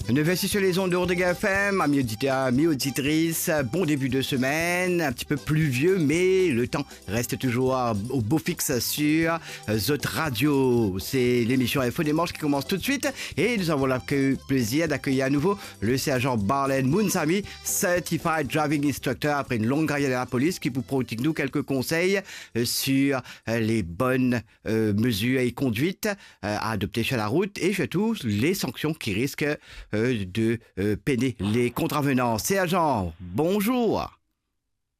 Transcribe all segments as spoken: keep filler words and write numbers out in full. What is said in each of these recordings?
Neuf heures six sur les ondes de Rodrigues F M, amis auditeurs, amis auditrices, bon début de semaine, un petit peu pluvieux, mais le temps reste toujours au beau fixe sur euh, Zot Radio. C'est l'émission Info Dimanche qui commence tout de suite et nous avons le plaisir d'accueillir à nouveau le sergent Barlen Mounsami, Certified Driving Instructor. Après une longue carrière dans la police, qui vous prodigue nous quelques conseils euh, sur euh, les bonnes euh, mesures et conduites euh, à adopter sur la route et surtout les sanctions qui risquent euh, de euh, peiner les contravenants. Sergent, bonjour.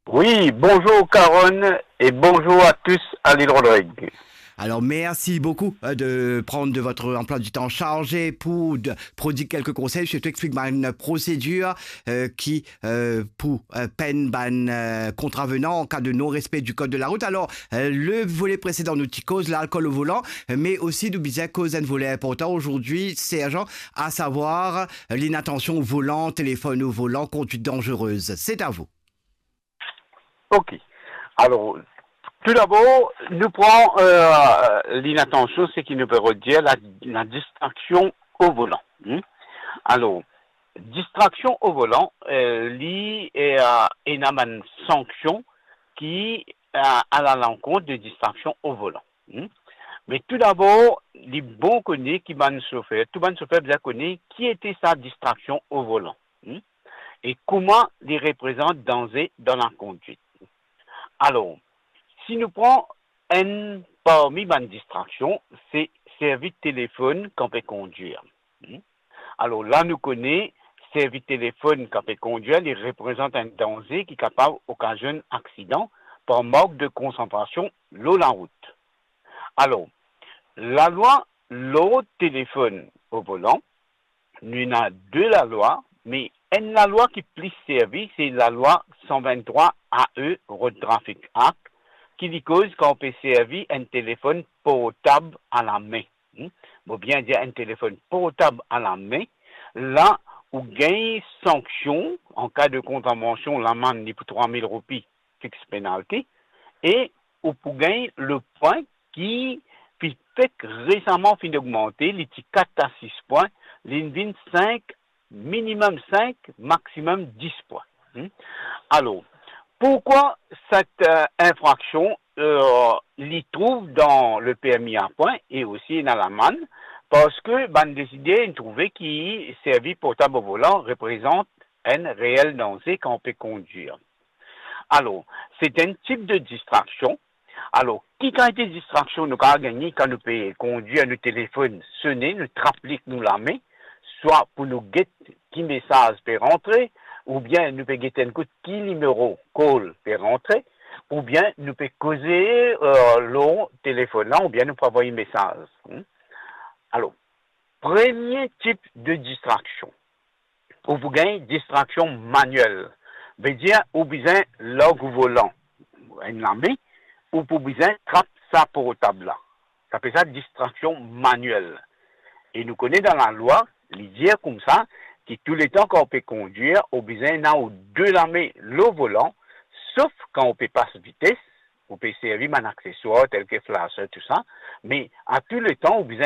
Oui, bonjour Caron et bonjour à tous à l'île Rodrigue. Alors, merci beaucoup euh, de prendre de votre emploi du temps chargé pour de, prodiguer quelques conseils. Je t'explique une procédure euh, qui euh, pour euh, peine ban euh, contravenant en cas de non-respect du code de la route. Alors, euh, le volet précédent, nous ti koz l'alcool au volant, mais aussi nous bizin koz un volet important aujourd'hui, sergent, à savoir euh, l'inattention au volant, téléphone au volant, conduite dangereuse. C'est à vous. Ok. Alors, tout d'abord, nous prenons euh, l'inattention, ce qui nous peut redire la, la distraction au volant. Hmm? Alors, distraction au volant, euh, li, euh, ena une sanction qui euh, à l'encontre de distraction au volant. Hmm? Mais tout d'abord, li bon kone ki bann sofer, tou bann sofer bien kone ki ete sa distraction au volant. Hmm? E kouma li reprezant danze dan lakonduit. Alor, si nou pran enn parmi bann distraksion, se servi telefonn kan pe kondir. Hmm? Alor la nou kone, servi telefonn kan pe kondir, li reprezant enn danze ki kapav okazionn aksidan par mank de konsantrasion lor larout. Alor, lalwa lord telefonn o volan, nou ena de lalwa, me enn lalwa ki plis servi, se lalwa san vinn-trwa A E Road Traffic Act, ki li koz kan ou pe servi enn telefonn portab alame. Hmm? Mo bien dir enn telefonn portab alame, la ou gagn sanksion, an ka de kontravansion, lamann li pou trwa mil roupi, fix penalty, e ou pou gagn le pwin ki fi-, fek resaman finn ogmante, li ti kat a sis pwin, li vinn sink, minimem sink, maximem dis pwin. Hmm? Alor, pourkwa set, euh, infraksion, euh, li trouv dan le permi a pwin e osi ena lamann? Parski bann desider inn trouve ki servi portab o volan reprezant enn reel danze kan ou pe kondir. Alor, se enn tip de distraksion. Alor, ki kalite distraksion nou kapav gagne kan nou pe kondir, nou telefonn sone, nou trap li ek nou lame, swa pou nou get ki mesaz pe rantre, oubien nou pe get enn kout ki nimero call pe rantre, oubien nou pe koze, euh, lor telefonn la, oubien nou pe avoy mesaz. Hmm? Alor, premie tip de distraksion, ou pou gagn distraksion maniel. Vedir ou bizin larg ou volan, enn lame, ou pou bizin trap sa portab la. Sa apel sa distraksion maniel. E nou kone dan lalwa, li dir koumsa ki touletan kan ou pe kondir, ou bizin ena ou de lame lor volan, sof kan ou pe pas vites, ou pe servi bann akseswar tel ki flasher, tou sa, me a touletan ou bizin